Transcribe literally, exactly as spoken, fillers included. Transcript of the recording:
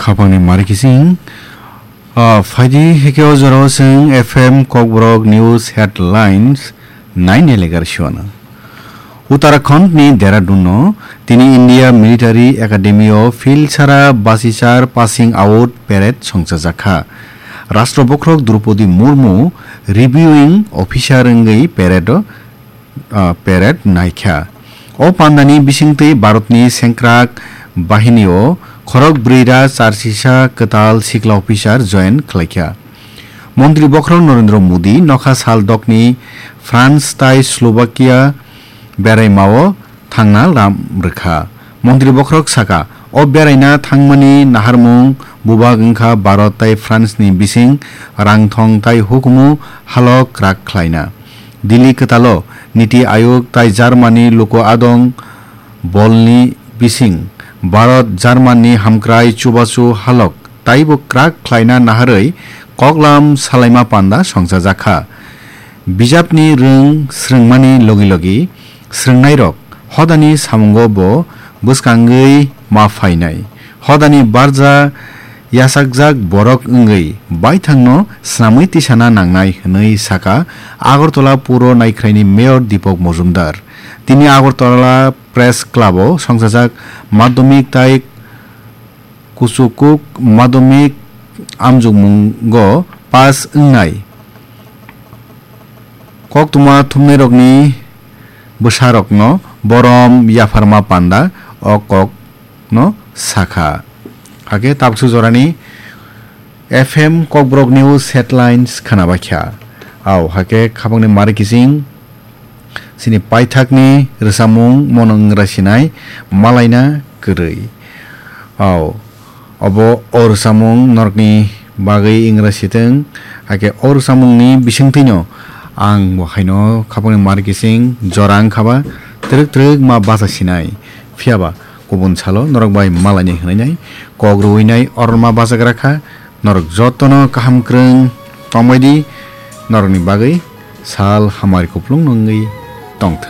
Khapangni mari kising. Ah, phaidi heke o jorao chwng F M Kokborok News Headlines naini legar siwana. Uttarakhand ni Dehradun no tini India Military Academy o Philsara Basichar Passing Out Parade songchajakha. Rashtra Bokhorok Droupadi Murmu Reviewing Officer wngwi parade o ah, parade naikha. O pandani bisingtwi Bharatni sengkrak bahinio khorok brwira charsisa kwtal sikla officer join khlaikha. Montri bokhorok Narendra Modi nokha sal dokni France tai Slovakia beraimao thangna lam rwkha. Montri bokhorok saka, o beraina thangmani naharmung bubak wngkha Bharat tai France ni bising rangthong tai hukumu halok kwrak khlaina. Delhi kwtalo Niti Ayog tai Germany luku adong bolni bising Bharat Germany hamkrai chubachu halok taibo kwrak khlaina naharwi koklam salaima panda songchajakha. Bijapni rwng swrwngmani logi logi swrwngnairok hodani samungo bo bwskangwi ma phainai. Hodani barja yachakjak borok wngwi baithangno snamwi tisana nangnai hwnwi saka Agartala Puro Naikhraini Mayor Deepak Majumdar. Tini Agartala Press Club-o songchajak madhyamik tai kuchukuk madhyamik amjokmungo pass wngnai koktwma thumnairokni bwsarokno borom yapharma panda o kokno sakha. Hakhe tabuksu jorani F M Kokborok News Headlines khwnabaikha. Au, hakhe khapangni mari kising. Chini paithakni rwchapmung mono wngra sinai malaina kwrwi. Au, obo o rwchapmung norokni bagwi wngra sitwng, hakhe o rwchapmungni bisingtwino ang bo haino khapangni mari kising jora wngkhaba twrwk twrwk ma bacha sinai. Phiyaba kubun salo norok bai malainai hwnwi nai kok rwui nai orma bachagra kha. Norok jotono kaham kwrwng tongbai di, norokni bagwi sal hamari kupulung wngwi tongthwng.